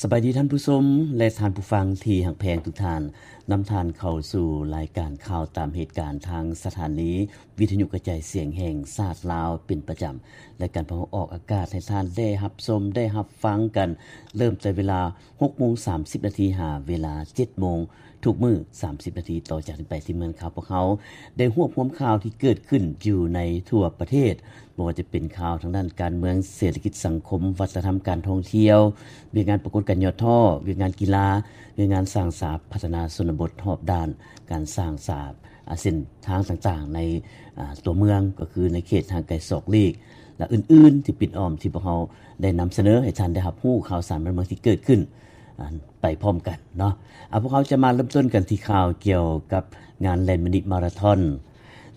ສະບາຍດີທ່ານຜູ້ຊົມ ແລະ ທ່ານຜູ້ຟັງທີ່ຮັກແພງທຸກທ່ານ. ນຳທ່ານເຂົ້າສູ່ລາຍການຂ່າວຕາມເຫດການ ທາງສະຖານີວິທະຍຸກະຈາຍສຽງແຫ່ງຊາດລາວເປັນປະຈຳ. ລາຍການພວກເຮົາອອກອາກາດໃຫ້ທ່ານໄດ້ຮັບຊົມ ໄດ້ຮັບຟັງກັນ ເລີ່ມແຕ່ເວລາຫົກໂມງສາມສິບນາທີ ຫາເວລາເຈັດໂມງ ທຸກມື້ສາມສິບນາທີ. ຕໍ່ຈາກນີ້ໄປ ທີມງານຂ່າວພວກເຮົາໄດ້ຮວບຮວມຂ່າວທີ່ເກີດຂຶ້ນຢູ່ໃນທົ່ວປະເທດ, ບໍ່ວ່າຈະເປັນຂ່າວທາງດ້ານການເມືອງ, ເສດຖະກິດ, ສັງຄົມ, ວັດທະນະທຳ, ການທ່ອງທ່ຽວ, ວຽກງານປາກົດການຫຍໍ້ທໍ້, ວຽກງານກິລາ, ວຽກງານສ້າງສາພັດທະນາຊົນນະບົດຮອບດ້ານ, ການສ້າງສາ ອາ ເສັ້ນທາງຕ່າງໆໃນ ອາ ຕົວເມືອງ, ກໍຄືໃນເຂດຫ່າງໄກສອກຫຼີກ ແລະ ອື່ນໆທີ່ປິດອ້ອມ ທີ່ພວກເຮົາໄດ້ນຳສະເໜີໃຫ້ທ່ານໄດ້ຮັບຮູ້ຂ່າວສານບ້ານເມືອງທີ່ເກີດຂຶ້ນ ອາ ໄປພ້ອມກັນເນາະ. ອາ ພວກເຮົາຈະມາເລີ່ມຕົ້ນກັນທີ່ຂ່າວກ່ຽວກັບງານແລ່ນມິນິມາລາທອນ.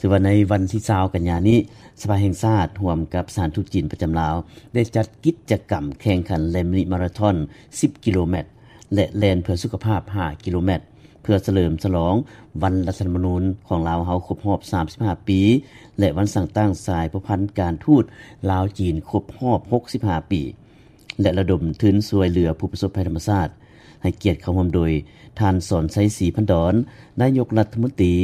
ຖືວ່າໃນວັນທີຊາວກັນຍານີ້ ສະພາແຫ່ງຊາດຮ່ວມກັບສະຖານທູດຈີນປະຈຳລາວ ໄດ້ຈັດກິດຈະກຳແຂ່ງຂັນແລ່ນມິນິມາລາທອນສິບກິໂລແມັດ ແລະ ແລ່ນເພື່ອສຸຂະພາບຫ້າກິໂລແມັດ ເພື່ອສະເຫຼີມສະຫຼອງວັນລັດຖະທຳມະນູນຂອງລາວເຮົາຄົບຮອບສາມສິບຫ້າປີ ແລະ ວັນສ້າງຕັ້ງສາຍພົວພັນການທູດລາວ-ຈີນຄົບຮອບຫົກສິບຫ້າປີ ແລະ ລະດົມທຶນຊ່ວຍເຫຼືອຜູ້ປະສົບໄພທຳມະຊາດ. ໃຫ້ກຽດເຂົ້າຮ່ວມໂດຍ ທ່ານ ສອນໄຊ ສີພັນດອນ ນາຍົກລັດຖະມົນຕີ,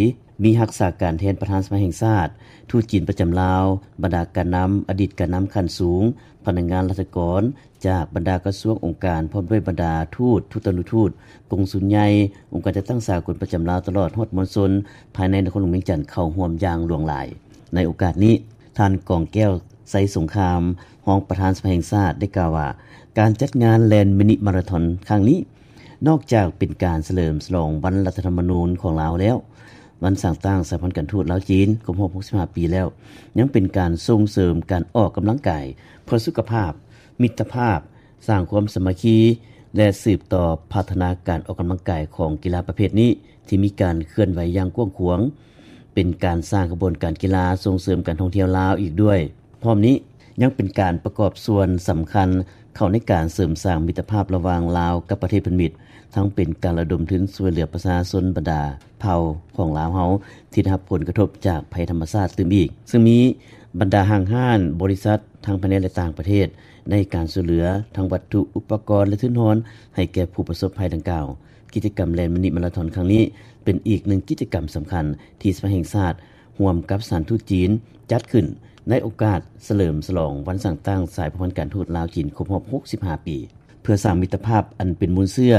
ມີຮັກສາການແທນປະທານສະພາແຫ່ງຊາດ, ທູດຈີນປະຈຳລາວ, ບັນດາການນຳ, ອະດີດການນຳຂັ້ນສູງ, ພະນັກງານລັດຖະກອນຈາກບັນດາກະຊວງ, ອົງການ, ພ້ອມດ້ວຍບັນດາທູດ, ທູຕານຸທູດ, ກົງສຸນໃຫຍ່, ອົງການຈັດຕັ້ງສາກົນປະຈຳລາວ, ຕະຫຼອດຮອດມວນຊົນພາຍໃນນະຄອນຫຼວງວຽງຈັນ ເຂົ້າຮ່ວມຢ່າງຫຼວງຫຼາຍ. ໃນໂອກາດນີ້, ທ່ານ ກອງແກ້ວ ໄຊສົງຄາມ ຮອງປະທານສະພາແຫ່ງຊາດ ໄດ້ກ່າວວ່າ ການຈັດງານແລ່ນມິນິມາລາທອນຄັ້ງນີ້ ນອກຈາກເປັນການສະເຫຼີມສະຫຼອງວັນລັດຖະທຳມະນູນຂອງລາວແລ້ວ, ວັນສ້າງຕັ້ງສາຍພັນການທູດລາວ-ຈີນຄົບຮອບຫົກສິບຫ້າປີແລ້ວ, ຍັງເປັນການສົ່ງເສີມການອອກກຳລັງກາຍເພື່ອສຸຂະພາບ, ມິດຕະພາບ, ສ້າງຄວາມສາມັກຄີ ແລະ ສືບຕໍ່ພັດທະນາການອອກກຳລັງກາຍຂອງກິລາປະເພດນີ້ ທີ່ມີການເຄື່ອນໄຫວຢ່າງກວ້າງຂວາງ, ເປັນການສ້າງຂະບວນການກິລາ, ສົ່ງເສີມການທ່ອງທ່ຽວລາວອີກດ້ວຍ. ພ້ອມນີ້ຍັງເປັນການປະກອບສ່ວນສຳຄັນເຂົ້າໃນການເສີມສ້າງມິດຕະພາບລະຫວ່າງລາວກັບປະເທດເພື່ອນມິດ, ທັງເປັນການລະດົມທຶນຊ່ວຍເຫຼືອປະຊາຊົນບັນດາເຜົ່າຂອງລາວເຮົາທີ່ໄດ້ຮັບຜົນກະທົບຈາກໄພທຳມະຊາດຕື່ມອີກ, ເຊິ່ງມີບັນດາຫ້າງຮ້ານ, ບໍລິສັດ ທັງພາຍໃນ ແລະ ຕ່າງປະເທດ ໃນການຊ່ວຍເຫຼືອທັງວັດຖຸ, ອຸປະກອນ ແລະ ທຶນຮອນໃຫ້ແກ່ຜູ້ປະສົບໄພດັ່ງກ່າວ. ກິດຈະກຳແລ່ນມິນິມາລາທອນຄັ້ງນີ້ ເປັນອີກໜຶ່ງກິດຈະກຳສຳຄັນທີ່ສະພາແຫ່ງຊາດ ຮ່ວມກັບສະຖານທູດຈີນ ຈັດຂຶ້ນໃນໂອກາດສະເຫຼີມສະຫຼອງວັນສ້າງຕັ້ງສາຍພົວພັນການທູດລາວ-ຈີນຄົບຮອບຫົກສິບຫ້າປີ, ເພື່ອສ້າງມິດຕະພາບອັນເປັນມູນເຊື້ອ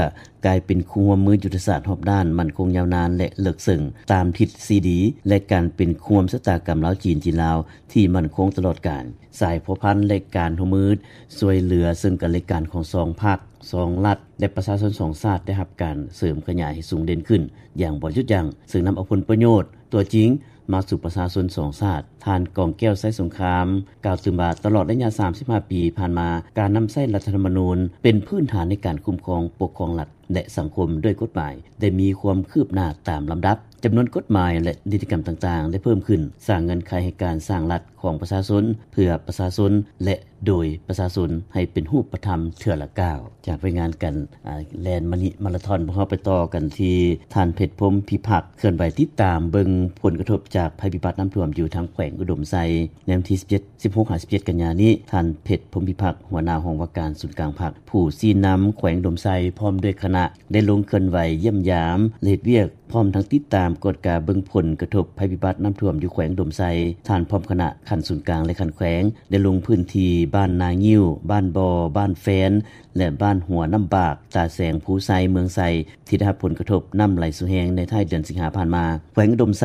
ກາຍເປັນຄູ່ຮ່ວມມືຍຸດທະສາດຮອບດ້ານ ໝັ້ນຄົງຍາວນານ ແລະ ເລິກເຊິ່ງ ຕາມທິດສີ່ດີ ແລະ ການເປັນຄູ່ຮ່ວມຊະຕາກຳລາວ-ຈີນ, ຈີນ-ລາວ ທີ່ໝັ້ນຄົງຕະຫຼອດການ. ສາຍພົວພັນ ແລະ ການຮ່ວມມືຊ່ວຍເຫຼືອເຊິ່ງກັນແລະກັນຂອງສອງພັກ, ສອງລັດ ແລະ ປະຊາຊົນສອງຊາດ ໄດ້ຮັບການເສີມຂະຫຍາຍໃຫ້ສູງເດັ່ນຂຶ້ນຢ່າງບໍ່ຢຸດຢັ້ງ, ເຊິ່ງນຳເອົາຜົນປະໂຫຍດຕົວຈິງມາສູ່ປະຊາຊົນສອງຊາດ. ທ່ານ ກອງແກ້ວ ໄຊສົງຄາມ ກ່າວຕື່ມວ່າ ຕະຫຼອດໄລຍະສາມສິບຫ້າປີຜ່ານມາ, ການນຳໃຊ້ລັດຖະທຳມະນູນເປັນພື້ນຖານໃນການຄຸ້ມຄອງປົກຄອງລັດ ແລະ ສັງຄົມດ້ວຍກົດໝາຍ ໄດ້ມີຄວາມຄືບໜ້າຕາມລຳດັບ. ຈຳນວນກົດໝາຍ ແລະ ນິຕິກຳຕ່າງໆ ໄດ້ເພີ່ມຂຶ້ນ, ສ້າງເງື່ອນໄຂໃຫ້ການສ້າງລັດຂອງປະຊາຊົນ, ເພື່ອປະຊາຊົນ ແລະ ໂດຍປະຊາຊົນ ໃຫ້ເປັນຮູບປະທຳເທື່ອລະກ້າວ. ຈາກລາຍງານການ ອາ ແລ່ນມິນິມາລາທອນ, ພວກເຮົາໄປຕໍ່ກັນທີ່ທ່ານ ເພັດ ພົມພິພັກ ເຄື່ອນໄຫວຕິດຕາມເບິ່ງຜົນກະທົບຈາກໄພພິບັດນ້ຳຖ້ວມຢູ່ທາງແຂວງອຸດົມໄຊ ໃນວັນທີສິບເຈັດ ສິບຫົກ ຫາ ສິບເຈັດ ກັນຍານີ້. ທ່ານ ເພັດ ພົມພິພັກ ຫົວໜ້າຫ້ອງວ່າການສູນກາງພັກ ຜູ້ຊີ້ນຳແຂວງອຸດົມໄຊ ພ້ອມດ້ວຍຄະນະ ໄດ້ລົງເຄື່ອນໄຫວຢ້ຽມຢາມ ແລະ ເຮັດວຽກ ພ້ອມທັງຕິດຕາມກວດກາເບິ່ງຜົນກະທົບໄພພິບັດນ້ຳຖ້ວມຢູ່ແຂວງອຸດົມໄຊ. ທ່ານພ້ອມຄະນະຂັ້ນສູນກາງ ແລະ ຂັ້ນແຂວງ ໄດ້ລົງພື້ນທີ່ບ້ານນາງິ້ວ, ບ້ານບໍ່, ບ້ານແຟນ ແລະ ບ້ານຫົວນ້ຳບາກ, ຕາແສງ, ພູໄຊ, ເມືອງໄຊ ທີ່ໄດ້ຮັບຜົນກະທົບນ້ຳໄຫຼສູ່ແຮງໃນທ້າຍເດືອນສິງຫາຜ່ານມາ. ແຂວງອຸດົມໄຊ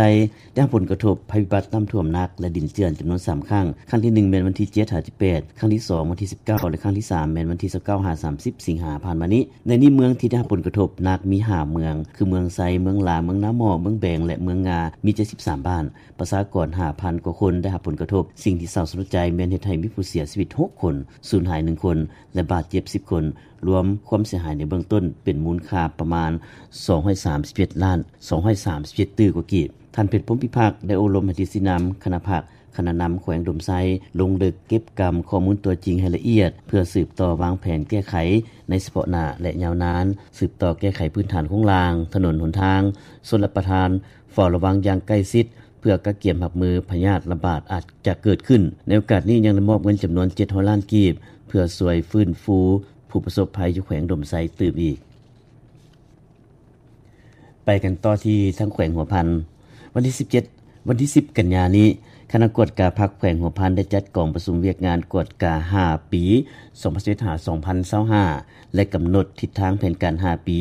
ໄດ້ຮັບຜົນກະທົບໄພພິບັດນ້ຳຖ້ວມໜັກ ແລະ ດິນເຈື່ອນຈຳນວນສາມຄັ້ງ. ຄັ້ງທີໜຶ່ງແມ່ນວັນທີເຈັດ ຫາ ສິບແປດ, ຄັ້ງທີສອງວັນທີສິບເກົ້າ ແລະ ຄັ້ງທີສາມແມ່ນວັນທີຊາວເກົ້າ ຫາ ສາມສິບ ສິງຫາຜ່ານມານີ້. ໃນນີ້ເມືອງທີ່ໄດ້ຮັບຜົນກະທົບໜັກມີຫ້າເມືອງ ຄື ເມືອງໄຊ, ເມືອງຫຼາ, ເມືອງນາໝໍ້, ເມືອງແບງ ແລະ ເມືອງງາ ມີເຈັດສິບສາມບ້ານ, ປະຊາກອນຫ້າພັນກວ່າຄົນໄດ້ຮັບຜົນກະທົບ. ສິ່ງທີ່ເສົ້າສະຫຼົດໃຈແມ່ນເຮັດໃຫ້ມີຜູ້ເສຍຊີວິດຫົກຄົນ, ສູນຫາຍໜຶ່ງຄົນ ແລະ ບາດເຈັບສິບຄົນ, ລວມຄວາມເສຍຫາຍໃນເບື້ອງຕົ້ນເປັນມູນຄ່າປະມານສອງຮ້ອຍສາມສິບເຈັດລ້ານສອງຮ້ອຍສາມສິບເຈັດຕື້ກວ່າກີບ. ທ່ານ ເພັດ ພົມພິພັກ ໄດ້ໂອ້ລົມໃຫ້ທິດຊີ້ນຳຄະນະພັກ, ຄະນະນຳແຂວງອຸດົມໄຊ ລົງເລິກເກັບກຳຂໍ້ມູນຕົວຈິງໃຫ້ລະອຽດ ເພື່ອສືບຕໍ່ວາງແຜນແກ້ໄຂໃນສະເພາະໜ້າ ແລະ ຍາວນານ, ສືບຕໍ່ແກ້ໄຂພື້ນຖານໂຄງລ່າງ, ຖະໜົນຫົນທາງ, ຊົນລະປະທານ, ເຝົ້າລະວັງຢ່າງໃກ້ຊິດ ເພື່ອກະກຽມຮັບມືພະຍາດລະບາດອາດຈະເກີດຂຶ້ນ. ໃນໂອກາດນີ້ຍັງໄດ້ມອບເງິນຈຳນວນເຈັດຮ້ອຍລ້ານກີບ ເພື່ອຊ່ວຍຟື້ນຟູ ໂພ ຜູ້ປະສົບໄພຢູ່ແຂວງອຸດົມໄຊຕື່ມອີກ. ໄປກັນຕໍ່ທີ່ທາງແຂວງຫົວພັນ. ວັນທີສິບເຈັດ ວັນທີສິບກັນຍານີ້, ຄະນະກວດກາພັກແຂວງຫົວພັນໄດ້ຈັດກອງປະຊຸມວຽກງານກວດກາຫ້າປີ ສອງພັນສິບເອັດ ຫາ ສອງພັນຊາວຫ້າ ແລະ ກຳນົດທິດທາງແຜນການຫ້າປີ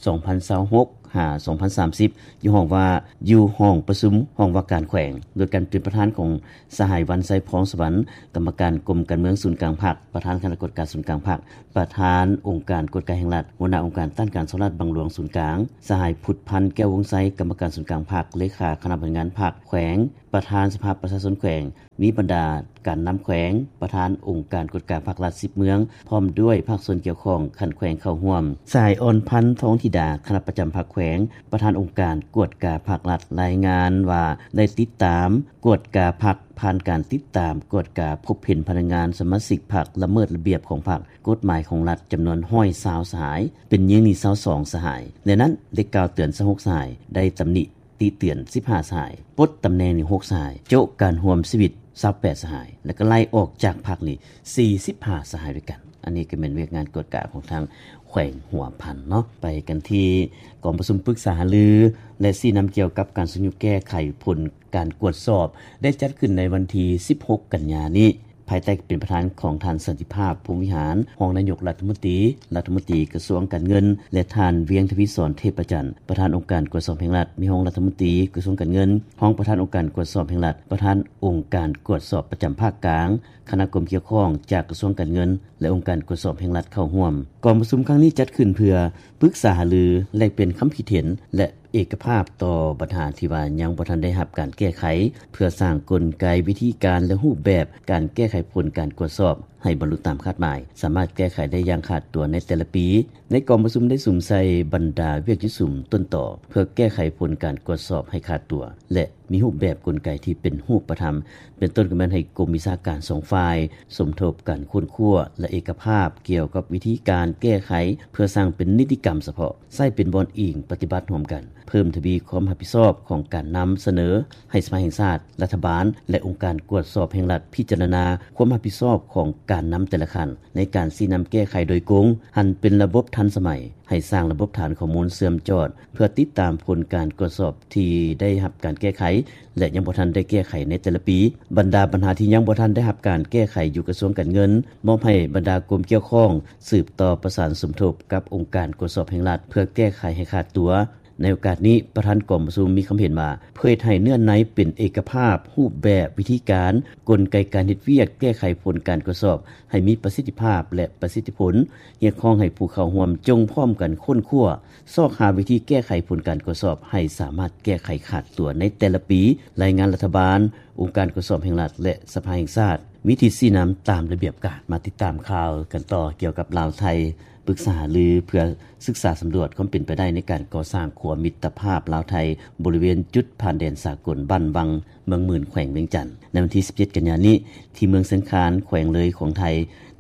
ສອງພັນຊາວຫົກ ຫາ ສອງພັນສາມສິບ ຢູ່ຫ້ອງວ່າ ຢູ່ຫ້ອງປະຊຸມຫ້ອງວ່າການແຂວງ ໂດຍການເປັນປະທານຂອງສະຫາຍ ວັນໄຊ ພອງສະຫວັນ ກຳມະການກົມການເມືອງສູນກາງພັກ, ປະທານຄະນະກວດກາສູນກາງພັກ, ປະທານອົງການກວດກາແຫ່ງລັດ, ຫົວໜ້າອົງການຕ້ານການສໍ້ລາດບັງຫຼວງສູນກາງ, ສະຫາຍ ພຸດພັນ ແກ້ວວົງໄຊ ກຳມະການສູນກາງພັກ, ເລຂາຄະນະບໍລິຫານງານພັກແຂວງ, ປະທານສະພາປະຊາຊົນແຂວງ, ມີບັນດາການນຳແຂວງ, ປະທານອົງການກວດກາພັກລັດສິບເມືອງ ພ້ອມດ້ວຍພາກສ່ວນກ່ຽວຂ້ອງຂັ້ນແຂວງເຂົ້າຮ່ວມ. ສະຫາຍ ອ່ອນພັນ ທອງທິດາ ຄະນະປະຈຳພັກແຂວງ, ປະທານອົງການກວດກາພັກລັດ ລາຍງານວ່າ ໄດ້ຕິດຕາມກວດກາພັກ ຜ່ານການຕິດຕາມກວດກາພົບເຫັນພະນັກງານສະມາຊິກພັກລະເມີດລະບຽບຂອງພັກ, ກົດໝາຍຂອງລັດ ຈຳນວນຮ້ອຍຊາວສະຫາຍ, ເປັນຍິງນີ້ຊາວສອງສະຫາຍ. ໃນນັ້ນໄດ້ກ່າວເຕືອນຊາວຫົກສະຫາຍ, ໄດ້ຕຳໜິຕິເຕືອນສິບຫ້າສະຫາຍ, ປົດຕຳແໜ່ງນີ້ຫົກສະຫາຍ, ໂຈະການຮ່ວມຊີວິດຊາວແປດສະຫາຍ ແລະ ກໍໄລ່ອອກຈາກພັກນີ້ສີ່ສິບຫ້າສະຫາຍດ້ວຍກັນ. ອັນນີ້ກໍແມ່ນວຽກງານກວດກາຂອງທາງແຂວງຫົວພັນເນາະ. ໄປກັນທີ່ກອງປະຊຸມປຶກສາຫາລື ແລະ ຊີ້ນຳກ່ຽວກັບການຊຸກຍູ້ແກ້ໄຂຜົນການກວດສອບ ໄດ້ຈັດຂຶ້ນໃນວັນທີສິບຫົກກັນຍານີ້ ພາຍໃຕ້ການເປັນປະທານຂອງທ່ານ ສັນຕິພາບ ພົມວິຫານ ຮອງນາຍົກລັດຖະມົນຕີ, ລັດຖະມົນຕີກະຊວງການເງິນ ແລະ ທ່ານ ວຽງທະວີສອນ ເທບປະຈັນ ປະທານອົງການກວດສອບແຫ່ງລັດ, ມີຮອງລັດຖະມົນຕີກະຊວງການເງິນ, ຮອງປະທານອົງການກວດສອບແຫ່ງລັດ, ປະທານອົງການກວດສອບປະຈຳພາກກາງ, ຄະນະກົມກ່ຽວຂ້ອງຈາກກະຊວງການເງິນ ແລະ ອົງການກວດສອບແຫ່ງລັດເຂົ້າຮ່ວມ. ກອງປະຊຸມຄັ້ງນີ້ຈັດຂຶ້ນເພື່ອປຶກສາຫາລື, ແລກປ່ຽນຄຳຄິດເຫັນ ແລະ ເອກະພາບຕໍ່ບັນຫາທີ່ວ່າຍັງບໍ່ທັນໄດ້ຮັບການແກ້ໄຂ, ເພື່ອສ້າງກົນໄກ, ວິທີການ ແລະ ຮູບແບບການແກ້ໄຂຜົນການກວດສອບໃຫ້ບັນລຸຕາມຄາດໝາຍ, ສາມາດແກ້ໄຂໄດ້ຢ່າງຂາດຕົວໃນແຕ່ລະປີ. ໃນກອງປະຊຸມໄດ້ສຸມໃສ່ບັນດາວຽກຢູ່ສຸມຕົ້ນຕໍ ເພື່ອແກ້ໄຂຜົນການກວດສອບໃຫ້ຂາດຕົວ ແລະ ມີຮູບແບບກົນໄກທີ່ເປັນຮູບປະທຳ, ເປັນຕົ້ນກໍແມ່ນໃຫ້ກົມວິຊາການສອງຝ່າຍສົມທົບກັນຄົ້ນຄວ້າ ແລະ ເອກະພາບກ່ຽວກັບວິທີການແກ້ໄຂ ເພື່ອສ້າງເປັນນິຕິກຳສະເພາະ, ໃຊ້ເປັນບ່ອນອີງປະຕິບັດຮ່ວມກັນ, ເພີ່ມທະວີຄວາມຮັບຜິດຊອບຂອງການນຳສະເໜີໃຫ້ສະພາແຫ່ງຊາດ, ລັດຖະບານ ແລະ ອົງການກວດສອບແຫ່ງລັດພິຈາລະນາຄວາມຮັບຜິດຊອບຂອງການນຳແຕ່ລະຂັ້ນ ໃນການຊີ້ນຳແກ້ໄຂໂດຍກົງ, ຫັນເປັນລະບົບທັນສະໄໝ, ໃຫ້ສ້າງລະບົບຖານຂໍ້ມູນເຊື່ອມຈອດ ເພື່ອຕິດຕາມຜົນການກວດສອບທີ່ໄດ້ຮັບການແກ້ໄຂ ແລະ ຍັງບໍ່ທັນໄດ້ແກ້ໄຂໃນແຕ່ລະປີ. ບັນດາບັນຫາທີ່ຍັງບໍ່ທັນໄດ້ຮັບການແກ້ໄຂຢູ່ກະຊວງການເງິນ ມອບໃຫ້ບັນດາກົມກ່ຽວຂ້ອງສືບຕໍ່ປະສານສົມທົບກັບອົງການກວດສອບແຫ່ງລັດ ເພື່ອແກ້ໄຂໃຫ້ຂາດຕົວ. ໃນໂອກາດນີ້, ປະທານກອງປະຊຸມມີຄຳເຫັນວ່າ ເພື່ອເຮັດໃຫ້ເນື້ອໃນເປັນເອກະພາບ, ຮູບແບບ, ວິທີການ, ກົນໄກການເຮັດວຽກແກ້ໄຂຜົນການກວດສອບໃຫ້ມີປະສິດທິພາບ ແລະ ປະສິດທິຜົນ, ຮຽກຮ້ອງໃຫ້ຜູ້ເຂົ້າຮ່ວມຈົ່ງພ້ອມກັນຄົ້ນຄວ້າ, ຊອກຫາວິທີແກ້ໄຂຜົນການກວດສອບໃຫ້ສາມາດແກ້ໄຂຂາດຕົວໃນແຕ່ລະປີ, ລາຍງານລັດຖະບານ, ອົງການກວດສອບແຫ່ງລັດ ແລະ ສະພາແຫ່ງຊາດ, ມີທິດຊີ້ນຳຕາມລະບຽບການ. ມາຕິດຕາມຂ່າວກັນຕໍ່ກ່ຽວກັບລາວໄທ ປຶກສາຫາລືເພື່ອສຶກສາສຳຫຼວດຄວາມເປັນໄປໄດ້ໃນການກໍ່ສ້າງຂົວມິດຕະພາບລາວໄທ ບໍລິເວນຈຸດຜ່ານແດນສາກົນບ້ານວັງ ເມືອງໝື່ນ ແຂວງວຽງຈັນ. ໃນວັນທີສິບເຈັດກັນຍານີ້ ທີ່ເມືອງຊຽງຄານ ແຂວງເລີຍຂອງໄທ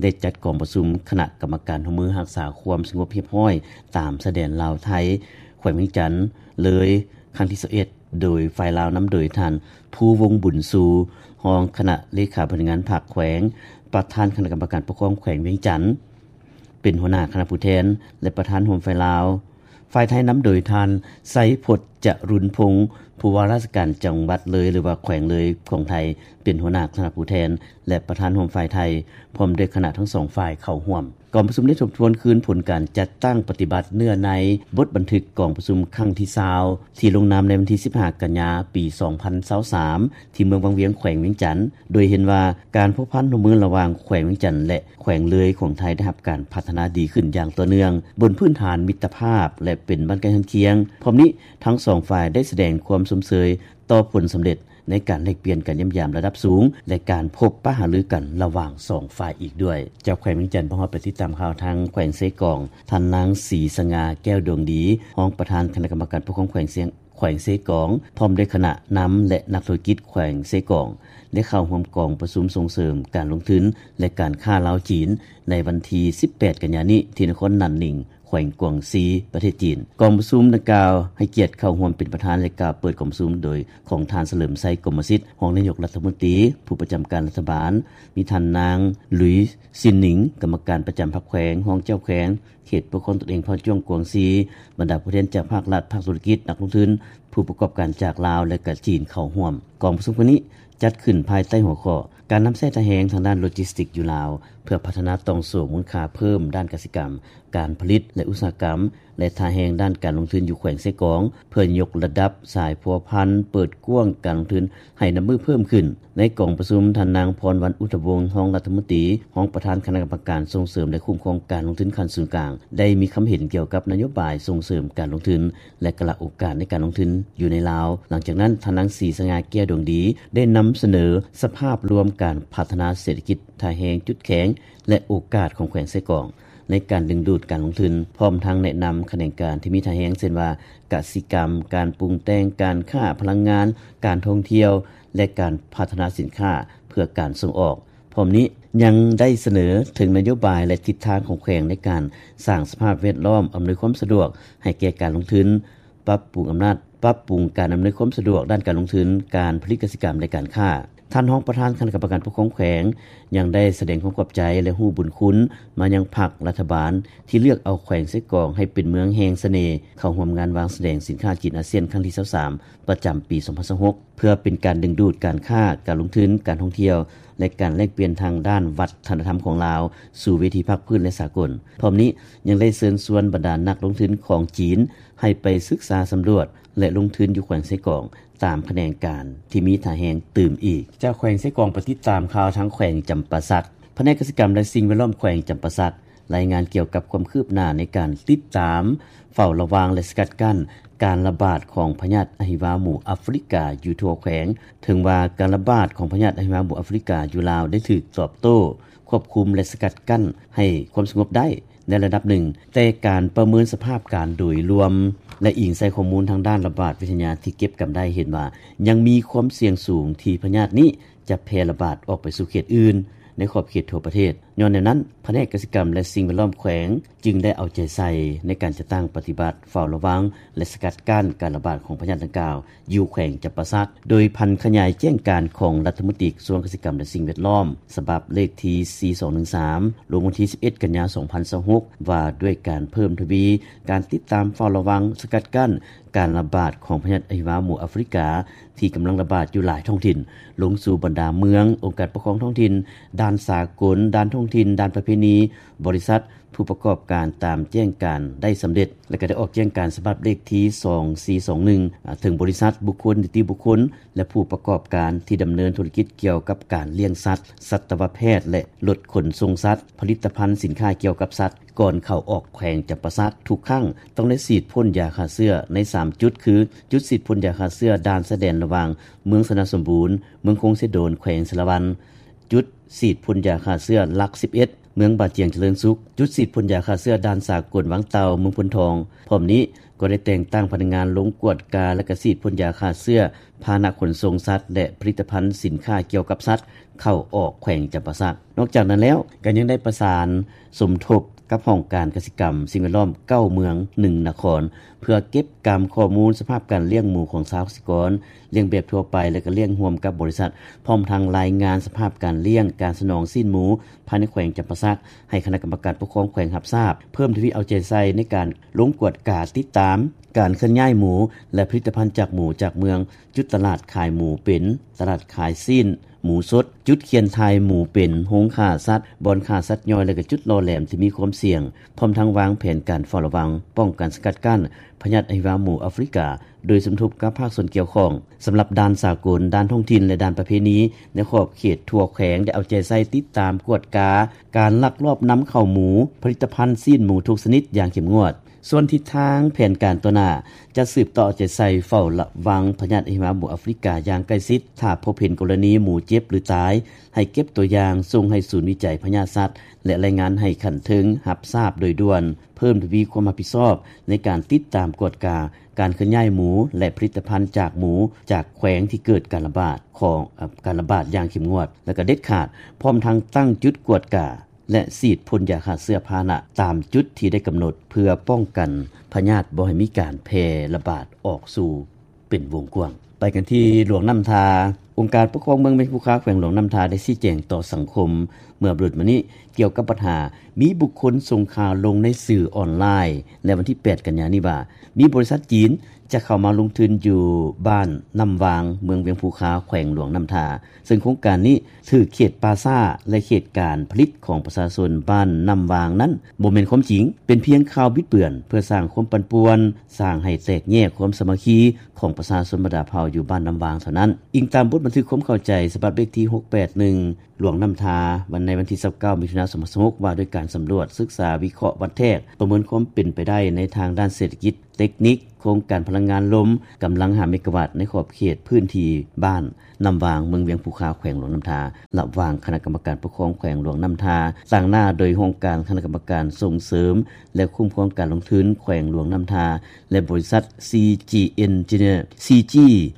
ໄດ້ຈັດກອງປະຊຸມຄະນະກຳມະການຮ່ວມມືຮັກສາຄວາມສະຫງົບຮຽບຮ້ອຍຕາມຊາຍແດນລາວໄທ ແຂວງວຽງຈັນ ເລີຍ ຄັ້ງທີຊາວເອັດ ໂດຍຝ່າຍລາວນຳໂດຍທ່ານ ພູວົງບຸນຊູ ຮອງຄະນະເລຂາບໍລິຫານງານພັກແຂວງ, ປະທານຄະນະກຳມະການປົກຄອງແຂວງວຽງຈັນ ເປັນຫົວໜ້າຄະນະຜູ້ແທນ ແລະ ປະທານຮ່ວມຝ່າຍລາວ. ຝ່າຍໄທນຳໂດຍທ່ານ ໄຊພົດ ຈະລຸນພົງ ຜູ້ວ່າລາຊະການຈັງຫວັດເລີຍ ຫຼືວ່າແຂວງເລີຍຂອງໄທ ເປັນຫົວໜ້າຄະນະຜູ້ແທນ ແລະ ປະທານຮ່ວມຝ່າຍໄທ ພ້ອມດ້ວຍຄະນະທັງສອງຝ່າຍເຂົ້າຮ່ວມ. ກອງປະຊຸມໄດ້ທົບທວນຄືນຜົນການຈັດຕັ້ງປະຕິບັດເນື້ອໃນບົດບັນທຶກກອງປະຊຸມຄັ້ງທີຊາວ ທີ່ລົງນາມໃນວັນທີສິບຫ້າກັນຍາ ປີສອງພັນຊາວສາມ ທີ່ເມືອງວັງວຽງ ແຂວງວຽງຈັນ ໂດຍເຫັນວ່າການພົວພັນຮ່ວມມືລະຫວ່າງແຂວງວຽງຈັນ ແລະ ແຂວງເລີຍຂອງໄທໄດ້ຮັບການພັດທະນາດີຂຶ້ນຢ່າງຕໍ່ເນື່ອງ ບົນພື້ນຖານມິດຕະພາບ ແລະ ເປັນບ້ານໃກ້ເຮືອນຄຽງ. ພ້ອມນີ້, ທັງສອງຝ່າຍໄດ້ສະແດງຄວາມຊົມເຊີຍຕໍ່ຜົນສຳເລັດໃນການແລກປ່ຽນການຢ້ຽມຢາມລະດັບສູງ ແລະ ການພົບປະຫາລືກັນລະຫວ່າງສອງຝ່າຍອີກດ້ວຍ. ຈາກແຂວງວຽງຈັນ, ພວກເຮົາໄປຕິດຕາມຂ່າວທາງແຂວງເຊກອງ. ທ່ານນາງ ສີສະຫງ່າ ແກ້ວດວງດີ ຮອງປະທານຄະນະກຳມະການປົກຄອງແຂວງເຊ ແຂວງເຊກອງ ພ້ອມດ້ວຍຄະນະນຳ ແລະ ນັກທຸລະກິດແຂວງເຊກອງ ໄດ້ເຂົ້າຮ່ວມກອງປະຊຸມສົ່ງເສີມການລົງທຶນ ແລະ ການຄ້າລາວ-ຈີນ ໃນວັນທີສິບແປດກັນຍານີ້ ທີ່ນະຄອນໜານໜິງ ແຂວງກວາງຊີ ປະເທດຈີນ. ກອງປະຊຸມດັ່ງກ່າວໃຫ້ກຽດເຂົ້າຮ່ວມເປັນປະທານ ແລະ ກ່າວເປີດກອງປະຊຸມໂດຍຂອງທ່ານ ສະເຫຼີມໄຊ ກົມມະສິດ ຮອງນາຍົກລັດຖະມົນຕີ ຜູ້ປະຈຳການລັດຖະບານ, ມີທ່ານນາງ ລຸຍ ຊິນໜິງ ກຳມະການປະຈຳພັກແຂວງ, ຮອງເຈົ້າແຂວງ ເຂດປົກຄອງຕົນເອງເຜົ່າຈ້ວງກວາງຊີ, ບັນດາຜູ້ແທນຈາກພາກລັດ, ພາກທຸລະກິດ, ນັກລົງທຶນ, ຜູ້ປະກອບການຈາກລາວ ແລະ ກະຈີນເຂົ້າຮ່ວມ. ກອງປະຊຸມຄັ້ງນີ້ຈັດຂຶ້ນພາຍໃຕ້ຫົວຂໍ້ ການນຳໃຊ້ທ່າແຮງທາງດ້ານໂລຈິສຕິກຢູ່ລາວ ເພື່ອພັດທະນາຕ່ອງໂສ້ມູນຄ່າເພີ່ມດ້ານກະສິກຳ, ການຜະລິດ ແລະ ອຸດສາຫະກຳ ແລະ ທ່າແຮງດ້ານການລົງທຶນຢູ່ແຂວງເຊກອງ ເພື່ອຍົກລະດັບສາຍພົວພັນ, ເປີດກວ້າງການລົງທຶນໃຫ້ນັບມື້ເພີ່ມຂຶ້ນ. ໃນກອງປະຊຸມ, ທ່ານນາງ ພອນວັນ ອຸດທະວົງ ຮອງລັດຖະມົນຕີ, ຮອງປະທານຄະນະກຳມະການສົ່ງເສີມ ແລະ ຄຸ້ມຄອງການລົງທຶນຂັ້ນສູນກາງ ໄດ້ມີຄຳເຫັນກ່ຽວກັບນະໂຍບາຍສົ່ງເສີມການລົງທຶນ ແລະ ກະລະໂອກາດໃນການລົງທຶນຢູ່ໃນລາວ. ຫຼັງຈາກນັ້ນ, ທ່ານນາງ ສີສະຫງ່າ ແກ້ວດວງດີ ໄດ້ນຳສະເໜີສະພາບລວມການພັດທະນາເສດຖະກິດ, ທ່າແຮງ, ຈຸດແຂງ ແລະ ໂອກາດຂອງແຂວງເຊກອງ ໃນການດຶງດູດການລົງທຶນ, ພ້ອມທັງແນະນຳຂະແໜງການທີ່ມີທ່າແຮງ ເຊັ່ນວ່າ ກະສິກຳ, ການປຸງແຕ່ງ, ການຄ້າ, ພະລັງງານ, ການທ່ອງທ່ຽວ ແລະ ການພັດທະນາສິນຄ້າເພື່ອການສົ່ງອອກ. ພ້ອມນີ້ຍັງໄດ້ສະເໜີເຖິງນະໂຍບາຍ ແລະ ທິດທາງຂອງແຂວງໃນການສ້າງສະພາບແວດລ້ອມອຳນວຍຄວາມສະດວກໃຫ້ແກ່ການລົງທຶນ, ປັບປຸງອຳນາດ, ປັບປຸງການອຳນວຍຄວາມສະດວກດ້ານການລົງທຶນ, ການຜະລິດກະສິກຳ ແລະ ການຄ້າ. ທ່ານຮອງປະທານຄະນະກຳມະການປົກຄອງແຂວງ ຍັງໄດ້ສະແດງຄວາມຂອບໃຈ ແລະ ຮູ້ບຸນຄຸນມາຍັງພັກລັດຖະບານ ທີ່ເລືອກເອົາແຂວງເຊກອງໃຫ້ເປັນເມືອງແຫ່ງສະເໜ່ ເຂົ້າຮ່ວມງານວາງສະແດງສິນຄ້າຈີນອາຊຽນຄັ້ງທີຊາວສາມ ປະຈຳປີສອງພັນຊາວຫົກ ເພື່ອເປັນການດຶງດູດການຄ້າ, ການລົງທຶນ, ການທ່ອງທ່ຽວ ແລະ ການແລກປ່ຽນທາງດ້ານວັດທະນະທຳຂອງລາວສູ່ເວທີພາກພື້ນ ແລະ ສາກົນ. ພ້ອມນີ້ຍັງໄດ້ເຊີນຊວນບັນດານັກລົງທຶນຂອງຈີນໃຫ້ໄປສຶກສາສຳຫຼວດ ແລະ ລົງທຶນຢູ່ແຂວງເຊກອງ ຕາມຂະແໜງການທີ່ມີທ່າແຮງຕື່ມອີກ. ຈາກແຂວງເຊກອງ ໄປຕິດຕາມຂ່າວທາງແຂວງຈຳປາສັກ. ພະແນກກະສິກຳ ແລະ ສິ່ງແວດລ້ອມແຂວງຈຳປາສັກ ລາຍງານກ່ຽວກັບຄວາມຄືບໜ້າໃນການຕິດຕາມ, ເຝົ້າລະວັງ ແລະ ສະກັດກັ້ນການລະບາດຂອງພະຍາດອະຫິວາໝູອາຟຣິກາຢູ່ທົ່ວແຂວງ. ເຖິງວ່າການລະບາດຂອງພະຍາດອະຫິວາໝູອາຟຣິກາຢູ່ລາວໄດ້ຖືກຕອບໂຕ້, ຄວບຄຸມ ແລະ ສະກັດກັ້ນໃຫ້ຄວາມສະຫງົບໄດ້ໃນລະດັບໜຶ່ງ, ແຕ່ການປະເມີນສະພາບການໂດຍລວມ ແລະ ອີງໃສ່ຂໍ້ມູນທາງດ້ານລະບາດວິທະຍາທີ່ເກັບກຳໄດ້ ເຫັນວ່າຍັງມີຄວາມສ່ຽງສູງທີ່ພະຍາດນີ້ ຈະແຜ່ລະບາດອອກໄປສູ່ເຂດອື່ນໃນຂອບເຂດທົ່ວປະເທດ. ຍ້ອນແນວນັ້ນ, ພະແນກກະສິກຳ ແລະ ສິ່ງແວດລ້ອມແຂວງ ຈຶ່ງໄດ້ເອົາໃຈໃສ່ໃນການຈັດຕັ້ງປະຕິບັດເຝົ້າລະວັງ ແລະ ສະກັດກັ້ນການລະບາດຂອງພະຍາດດັ່ງກ່າວຢູ່ແຂວງຈຳປາສັກ, ໂດຍຜັນຂະຫຍາຍແຈ້ງການຂອງລັດຖະມົນຕີກະຊວງກະສິກຳ ແລະ ສິ່ງແວດລ້ອມ ສະບັບເລກທີ ສີ່ສອງໜຶ່ງສາມ ລົງວັນທີ ສິບເອັດ ກັນຍາ ສອງພັນຊາວຫົກ ວ່າດ້ວຍການເພີ່ມທະວີການຕິດຕາມເຝົ້າລະວັງ ສະກັດກັ້ນ ການລະບາດຂອງພະຍາດອະຫິວາໝູອາຟຣິກາ ທີ່ກຳລັງລະບາດຢູ່ຫຼາຍທ້ອງຖິ່ນ ລົງສູ່ບັນດາເມືອງ, ອົງການປົກຄອງທ້ອງຖິ່ນ, ດ່ານສາກົນ, ດ່ານທ້ອງຖິ່ນ, ດ່ານປະເພນີ, ບໍລິສັດ, ຜູ້ປະກອບການຕາມແຈ້ງການໄດ້ສຳເລັດ ແລະ ກໍໄດ້ອອກແຈ້ງການສະບັບເລກທີ ສອງສີ່ສອງໜຶ່ງ ເຖິງບໍລິສັດ, ບຸກຄົນ, ນິຕິບຸກຄົນ ແລະ ຜູ້ປະກອບການທີ່ດຳເນີນທຸລະກິດກ່ຽວກັບການລ້ຽງສັດ, ສັດຕະວະແພດ ແລະ ລົດຂົນສົ່ງສັດ, ຜະລິດຕະພັນສິນຄ້າກ່ຽວກັບສັດ ກ່ອນເຂົ້າອອກແຂວງຈຳປາສັກທຸກຄັ້ງ ຕ້ອງໄດ້ສີດພົ່ນຢາຂ້າເຊື້ອໃນສາມຈຸດ ຄື ຈຸດສີດພົ່ນຢາຂ້າເຊື້ອດ່ານຊາຍແດນລະຫວ່າງເມືອງຊະນະສົມບູນ, ເມືອງຄົງເຊໂດນ ແຂວງສາລະວັນ, ຈຸດສີດພົ່ນຢາຂ້າເຊື້ອຫຼັກ ສິບເອັດ ເມືອງບາຈຽງຈະເລີນສຸກ, ຈຸດສີດພົ່ນຢາຂ້າເຊື້ອດ່ານສາກົນວັງເຕົ່າ ເມືອງໂພນທອງ. ພ້ອມນີ້ກໍໄດ້ແຕ່ງຕັ້ງພະນັກງານລົງກວດກາ ແລະ ກະສີດພົ່ນຢາຂ້າເຊື້ອພາຫະນະຂົນສົ່ງສັດ ແລະ ຜະລິດຕະພັນສິນຄ້າກ່ຽວກັບສັດ ເຂົ້າອອກແຂວງຈຳປາສັກ. ນອກຈາກນັ້ນແລ້ວ ກໍຍັງໄດ້ປະສານສົມທົບກັບຫ້ອງການກະສິກຳ, ສິ່ງແວດລ້ອມ ເກົ້າເມືອງ ໜຶ່ງນະຄອນ ເພື່ອເກັບກຳຂໍ້ມູນສະພາບການລ້ຽງໝູຂອງຊາວກະສິກອນ, ລ້ຽງແບບທົ່ວໄປ ແລະ ກໍລ້ຽງຮ່ວມກັບບໍລິສັດ, ພ້ອມທັງລາຍງານສະພາບການລ້ຽງ, ການສະໜອງຊີ້ນໝູພາຍໃນແຂວງຈຳປາສັກ ໃຫ້ຄະນະກຳມະການປົກຄອງແຂວງຮັບຊາບ, ເພີ່ມທະວີເອົາໃຈໃສ່ໃນການລົງກວດກາຕິດຕາມການເຄື່ອນຍ້າຍໝູ ແລະ ຜະລິດຕະພັນຈາກໝູຈາກເມືອງ, ຈຸດຕະຫຼາດຂາຍໝູເປັນ, ຕະຫຼາດຂາຍຊີ້ນ ໝູສົດ, ຈຸດຂຽນຖ່າຍໝູເປັນ, ໂຮງຂ້າສັດ, ບ່ອນຂ້າສັດຍ່ອຍ ແລະ ກໍຈຸດຫຼໍ່ແຫຼມທີ່ມີຄວາມສ່ຽງ, ພ້ອມທັງວາງແຜນການເຝົ້າລະວັງ, ປ້ອງກັນສະກັດກັ້ນພະຍາດອະຫິວາໝູອາຟຣິກາ ໂດຍສົມທົບກັບພາກສ່ວນກ່ຽວຂ້ອງ. ສຳລັບດ່ານສາກົນ, ດ່ານທ້ອງຖິ່ນ ແລະ ດ່ານປະເພນີ ໃນຂອບເຂດທົ່ວແຂວງ ໄດ້ເອົາໃຈໃສ່ຕິດຕາມກວດກາການລັກລອບນຳເຂົ້າໝູ, ຜະລິດຕະພັນຊີ້ນໝູທຸກຊະນິດຢ່າງເຂັ້ມງວດ. ສ່ວນທິດທາງແຜນການຕໍ່ໜ້າ ຈະສືບຕໍ່ເອົາໃຈໃສ່ເຝົ້າລະວັງພະຍາດອະຫິວາໝູອາຟຣິກາຢ່າງໃກ້ຊິດ. ຖ້າພົບເຫັນກໍລະນີໝູເຈັບ ຫຼື ຕາຍ, ໃຫ້ເກັບຕົວຢ່າງສົ່ງໃຫ້ສູນວິໄຈພະຍາດສັດ ແລະ ລາຍງານໃຫ້ຂັ້ນເທິງຮັບຊາບໂດຍດ່ວນ. ເພີ່ມທະວີຄວາມຮັບຜິດຊອບໃນການຕິດຕາມກວດກາການເຄື່ອນຍ້າຍໝູ ແລະ ຜະລິດຕະພັນຈາກໝູຈາກແຂວງທີ່ເກີດການລະບາດຂອງ ເອີ ການລະບາດຢ່າງເຂັ້ມງວດ ແລະ ກໍເດັດຂາດ, ພ້ອມທັງຕັ້ງຈຸດກວດກາ ແລະ ສີດພົ່ນຢາຂ້າເຊື້ອພາຫະນະຕາມຈຸດທີ່ໄດ້ກຳນົດ ເພື່ອປ້ອງກັນພະຍາດບໍ່ໃຫ້ມີການແຜ່ລະບາດອອກສູ່ເປັນວົງກວ້າງ. ໄປກັນທີ່ຫຼວງນ້ຳທາ. ອົງການປົກຄອງເມືອງວຽງພູຄາ ແຂວງຫຼວງນ້ຳທາ ໄດ້ຊີ້ແຈງຕໍ່ສັງຄົມເມື່ອບໍ່ດົນມານີ້ ກ່ຽວກັບບັນຫາມີບຸກຄົນສົ່ງຂ່າວລົງໃນສື່ອອນລາຍໃນວັນທີແປດກັນຍານີ້ວ່າ ມີບໍລິສັດຈີນຈະເຂົ້າມາລົງທຶນຢູ່ບ້ານນ້ຳວາງ ເມືອງວຽງພູຄາ ແຂວງຫຼວງນ້ຳທາ ເຊິ່ງໂຄງການນີ້ຖືກເຂດປ່າຊ້າ ແລະ ເຂດການຜະລິດຂອງປະຊາຊົນບ້ານນ້ຳວາງນັ້ນ ບໍ່ແມ່ນຄວາມຈິງ, ເປັນພຽງຂ່າວບິດເບືອນ ເພື່ອສ້າງຄວາມປັ່ນປ່ວນ, ສ້າງໃຫ້ແຕກແຍກຄວາມສາມັກຄີຂອງປະຊາຊົນບັນດາເຜົ່າຢູ່ບ້ານນ້ຳວາງເທົ່ານັ້ນ. ອີງຕາມບົດບັນທຶກຄວາມເຂົ້າໃຈສະບັບເລກທີຫົກແປດໜຶ່ງ ຫຼວງນ້ຳທາ ວັນ ໃນວັນທີຊາວເກົ້າ ມິຖຸນາ ສອງພັນຊາວຫົກ ວ່າດ້ວຍການສຳຫຼວດ, ສຶກສາ, ວິເຄາະ, ວັດແທກ, ປະເມີນຄວາມເປັນໄປໄດ້ໃນທາງດ້ານເສດຖະກິດ, ເຕັກນິກ, ໂຄງການພະລັງງານລົມ ກຳລັງຫ້າເມກາວັດ ໃນຂອບເຂດພື້ນທີ່ບ້ານນ້ຳວາງ ເມືອງວຽງພູຄາ ແຂວງຫຼວງນ້ຳທາ ລະຫວ່າງຄະນະກຳມະການປົກຄອງແຂວງຫຼວງນ້ຳທາ ຕາງໜ້າໂດຍຫ້ອງການຄະນະກຳມະການສົ່ງເສີມ ແລະ ຄຸ້ມຄອງການລົງທຶນແຂວງຫຼວງນ້ຳທາ ແລະ ບໍລິສັດ ຊີຈີ ເອັນເນເຈີ ຊີຈີ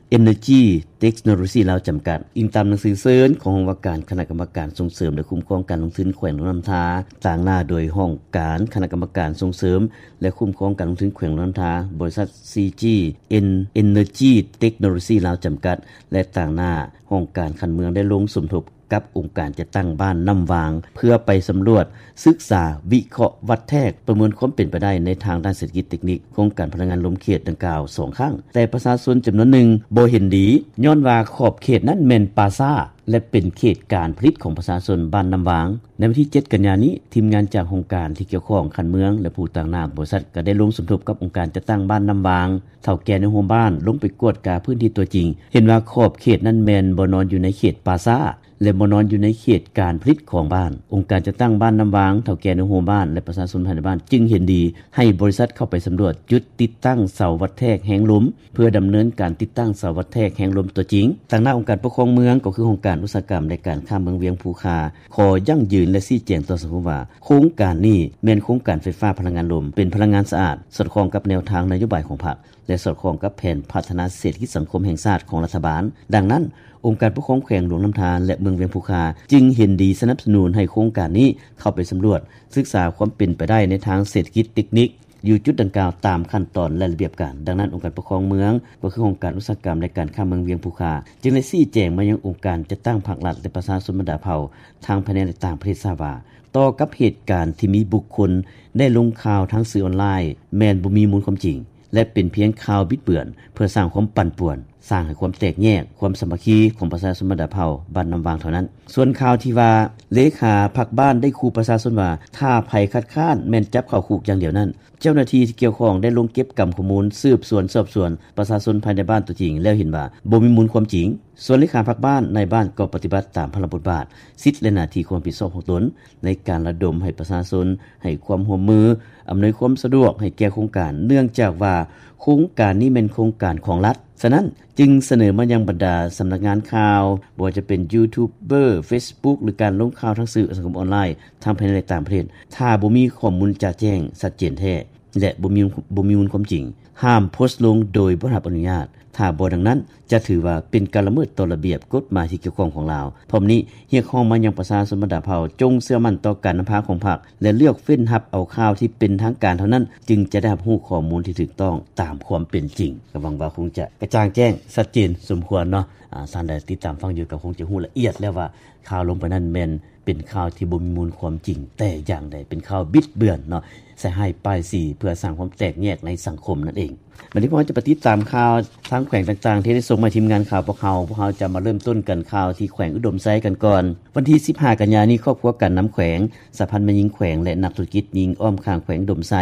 ເອັນເນີຈີ ເຕັກໂນໂລຊີ ລາວ ຈຳກັດ. ອີງຕາມໜັງສືເຊີນຂອງຫ້ອງວ່າການຄະນະກຳມະການສົ່ງເສີມ ແລະ ຄຸ້ມຄອງການລົງທຶນແຂວງຫຼວງນ້ຳທາ ຕາງໜ້າໂດຍຫ້ອງການຄະນະກຳມະການສົ່ງເສີມ ແລະ ຄຸ້ມຄອງການລົງທຶນແຂວງຫຼວງນ້ຳທາ, ບໍລິສັດ ຊີຈີ ເອັນ ເອັນເນີຈີ ເຕັກໂນໂລຊີ ລາວ ຈຳກັດ ແລະ ຕາງໜ້າຫ້ອງການຂັ້ນເມືອງ ໄດ້ລົງສົມທົບກັບອົງການຈັດຕັ້ງບ້ານນ້ຳວາງ ເພື່ອໄປສຳຫຼວດ, ສຶກສາ, ວິເຄາະ, ວັດແທກ, ປະເມີນຄວາມເປັນໄປໄດ້ໃນທາງດ້ານເສດຖະກິດເຕັກນິກ ໂຄງການພະລັງງານລົມເຂດດັ່ງກ່າວສອງຄັ້ງ, ແຕ່ປະຊາຊົນຈຳນວນໜຶ່ງບໍ່ເຫັນດີ ຍ້ອນວ່າຂອບເຂດນັ້ນແມ່ນປ່າຊ້າ ແລະ ເປັນເຂດການຜະລິດຂອງປະຊາຊົນບ້ານນ້ຳວາງ. ໃນວັນທີເຈັດກັນຍານີ້, ທີມງານຈາກຫ້ອງການທີ່ກ່ຽວຂ້ອງຂັ້ນເມືອງ ແລະ ຜູ້ຕາງໜ້າບໍລິສັດ ກໍໄດ້ລົງສົມທົບກັບອົງການຈັດຕັ້ງບ້ານນ້ຳວາງ, ເຖົ້າແກ່ໃນໂຮມບ້ານ ລົງໄປກວດກາພື້ນທີ່ຕົວຈິງ, ເຫັນວ່າຂອບເຂດນັ້ນແມ່ນບໍ່ນອນຢູ່ໃນເຂດປ່າຊ້າ ແລະ ບໍ່ນອນຢູ່ໃນເຂດການຜະລິດຂອງບ້ານ. ອົງການຈັດຕັ້ງບ້ານນ້ຳວາງ, ເຖົ້າແກ່ໃນໂຮມບ້ານ ແລະ ປະຊາຊົນພາຍໃນບ້ານ ຈຶ່ງເຫັນດີໃຫ້ບໍລິສັດເຂົ້າໄປສຳຫຼວດຈຸດຕິດຕັ້ງເສົາວັດແທກແຮງລົມ ເພື່ອດຳເນີນການຕິດຕັ້ງເສົາວັດແທກແຮງລົມຕົວຈິງ. ຕາງໜ້າອົງການປົກຄອງເມືອງ ກໍຄືຫ້ອງການອຸດສາຫະກຳ ແລະ ການຄ້າເມືອງວຽງພູຄາ ຂໍຢັ້ງຢືນ ແລະ ຊີ້ແຈງຕໍ່ສັງຄົມວ່າ ໂຄງການນີ້ແມ່ນໂຄງການໄຟຟ້າພະລັງງານລົມ, ເປັນພະລັງງານສະອາດ, ສອດຄ່ອງກັບແນວທາງນະໂຍບາຍຂອງພັກ ແລະ ສອດຄ່ອງກັບແຜນພັດທະນາເສດຖະກິດສັງຄົມແຫ່ງຊາດຂອງລັດຖະບານ. ດັ່ງນັ້ນ, ອົງການປົກຄອງແຂວງຫຼວງນ້ຳທາ ແລະ ເມືອງວຽງພູຄາ ຈຶ່ງເຫັນດີສະໜັບສະໜູນໃຫ້ໂຄງການນີ້ເຂົ້າໄປສຳຫຼວດ, ສຶກສາຄວາມເປັນໄປໄດ້ໃນທາງເສດຖະກິດເຕັກນິກ ຢູ່ຈຸດດັ່ງກ່າວຕາມຂັ້ນຕອນ ແລະ ລະບຽບການ. ດັ່ງນັ້ນ, ອົງການປົກຄອງເມືອງ ກໍຄືຫ້ອງການອຸດສາຫະກຳ ແລະ ການຄ້າເມືອງວຽງພູຄາ ຈຶ່ງໄດ້ຊີ້ແຈງມາຍັງອົງການຈັດຕັ້ງພາກລັດ ແລະ ປະຊາຊົນບັນດາເຜົ່າ ທັງພາຍໃນ ແລະ ຕ່າງປະເທດຊາບວ່າ ຕໍ່ກັບເຫດການທີ່ມີບຸກຄົນໄດ້ລົງຂ່າວທາງສື່ອອນລາຍ ແມ່ນບໍ່ມີມູນຄວາມຈິງ ແລະ ເປັນພຽງຂ່າວບິດເບືອນ ເພື່ອສ້າງຄວາມປັ່ນປ່ວນ, ສ້າງໃຫ້ຄວາມແຕກແຍກຄວາມສາມັກຄີຂອງປະຊາຊົນບັນດາເຜົ່າບ້ານນ້ຳວາງເທົ່ານັ້ນ. ສ່ວນຂ່າວທີ່ວ່າ ເລຂາພັກບ້ານໄດ້ຂູ່ປະຊາຊົນວ່າ ຖ້າໃຜຄັດຄ້ານແມ່ນຈັບເຂົ້າຄຸກຢ່າງດຽວນັ້ນ, ເຈົ້າໜ້າທີ່ທີ່ກ່ຽວຂ້ອງໄດ້ລົງເກັບກຳຂໍ້ມູນ, ສືບສວນສອບສວນປະຊາຊົນພາຍໃນບ້ານຕົວຈິງ ແລ້ວເຫັນວ່າບໍ່ມີມູນຄວາມຈິງ. ສ່ວນເລຂາພັກບ້ານ, ນາຍບ້ານກໍປະຕິບັດຕາມພາລະບົດບາດ, ສິດ ແລະ ໜ້າທີ່ຄວາມຮັບຜິດຊອບຂອງຕົນ ໃນການລະດົມໃຫ້ປະຊາຊົນໃຫ້ຄວາມຮ່ວມມື, ອຳນວຍຄວາມສະດວກໃຫ້ແກ່ໂຄງການ, ເນື່ອງຈາກວ່າໂຄງການນີ້ແມ່ນໂຄງການຂອງລັດ. ສະນັ້ນ, ຈຶ່ງສະເໜີມາຍັງບັນດາສຳນັກງານຂ່າວ, ບໍ່ວ່າຈະເປັນຢູທູບເບີ, ເຟສບຸກ ຫຼື ການລົງຂ່າວທາງສື່ສັງຄົມອອນລາຍ ທັງພາຍໃນ ແລະ ຕ່າງປະເທດ, ຖ້າບໍ່ມີຂໍ້ມູນຈະແຈ້ງຊັດເຈນແທ້ ແລະ ບໍ່ມີ, ບໍ່ມີມູນຄວາມຈິງ, ຫ້າມໂພສລົງໂດຍບໍ່ໄດ້ຮັບອະນຸຍາດ. ຖ້າບໍ່ດັ່ງນັ້ນ, ຈະຖືວ່າເປັນການລະເມີດຕໍ່ລະບຽບກົດໝາຍທີ່ກ່ຽວຂ້ອງຂອງລາວ. ພ້ອມນີ້, ຮຽກຮ້ອງມາຍັງປະຊາຊົນບັນດາເຜົ່າ ຈົ່ງເຊື່ອໝັ້ນຕໍ່ການນຳພາຂອງພັກ ແລະ ເລືອກເວັ້ນຮັບເອົາຂ່າວທີ່ເປັນທາງການເທົ່ານັ້ນ, ຈຶ່ງຈະໄດ້ຮັບຮູ້ຂໍ້ມູນທີ່ຖືກຕ້ອງຕາມຄວາມເປັນຈິງ. ກໍຫວັງວ່າຄົງຈະກະຈ່າງແຈ້ງຊັດເຈນສົມຄວນເນາະ. ອາ, ທ່ານໃດຕິດຕາມຟັງຢູ່ກໍຄົງຈະຮູ້ລະອຽດແລ້ວວ່າ ຂ່າວລົງໄປນັ້ນແມ່ນເປັນຂ່າວທີ່ບໍ່ມີມູນຄວາມຈິງແຕ່ຢ່າງໃດ, ເປັນຂ່າວບິດເບືອນເນາະ, ໃສ່ຮ້າຍປ້າຍສີ ເພື່ອສ້າງຄວາມແຕກແຍກໃນສັງຄົມນັ້ນເອງ. ບັດນີ້ພວກເຮົາຈະໄປຕິດຕາມຂ່າວທາງແຂວງຕ່າງໆ ທີ່ໄດ້ສົ່ງມາໃຫ້ທີມງານຂ່າວພວກເຮົາ. ພວກເຮົາຈະມາເລີ່ມຕົ້ນກັນຂ່າວທີ່ແຂວງອຸດົມໄຊກັນກ່ອນ. ວັນທີສິບຫ້າກັນຍານີ້, ຄອບຄົວການນຳແຂວງ, ສະຫະພັນແມ່ຍິງແຂວງ ແລະ ນັກທຸລະກິດຍິງອ້ອມຂ້າງແຂວງອຸດົມໄຊ